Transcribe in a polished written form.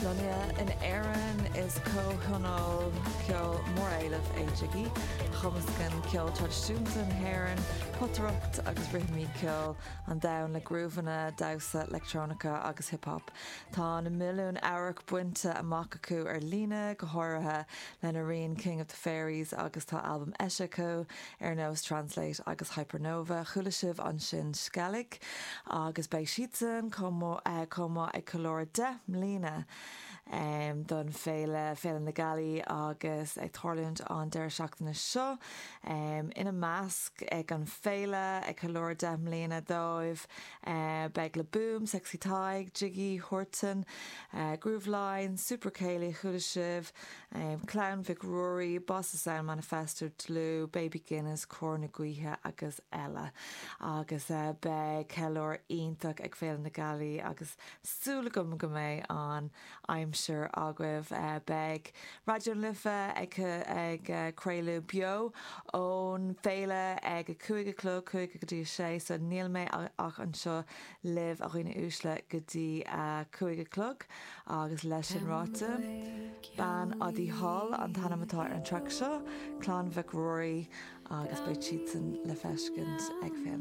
Lonnaithe in Éirinn, is comhthionól ceoil móréilimh é Jiggy, a chumascann ceol traidisiúnta na hÉireann, potaireacht agus rithimí ceoil an domhain le grúbhanna damhsa leictreonacha agus hip hop. Tá na milliúin amharc bainte amach acu ar líne, go háirithe lena rian King of the Fairies agus tá albaim eisithe acu ar nós Translate agus Hypernova. Chuala sibh ansin Sceilg agus beidh siadsan chomh maith ag ceiliúradh 10 mbliana don féile, Féile na Gealaí agus ag tarlúint an deireadh seachtaine seo. Ina measc ag an féile, ag ceiliúradh 10 mbliana dóibh, beidh Le Boom, Sexy Tadhg, Jiggy, Huartan, Grooveline, Super Céilí, chuala sibh, Clann Mhic Ruairí, Bossa Sound Manifesto, Dlúth, Baby Guinness, Cór na Gaoithe agus eile. Agus beidh ceiliúr iontach ag Féile na Gealaí agus súil agam go mbeidh an aimsir agaibh. Beidh Raidió na Life ag ag craoladh beo ón bhféile ag a 5 a chlog, 5 go dtí a 6, so níl mé ach anseo libh a dhaoine uaisle go dtí a 5 a chlog agus leis sin ráite, Bean Adaí Thall an t-ainm atá ar an traic seo, Clann Mhic Ruairí agus beidh siadsan le feiscint ag Féile na.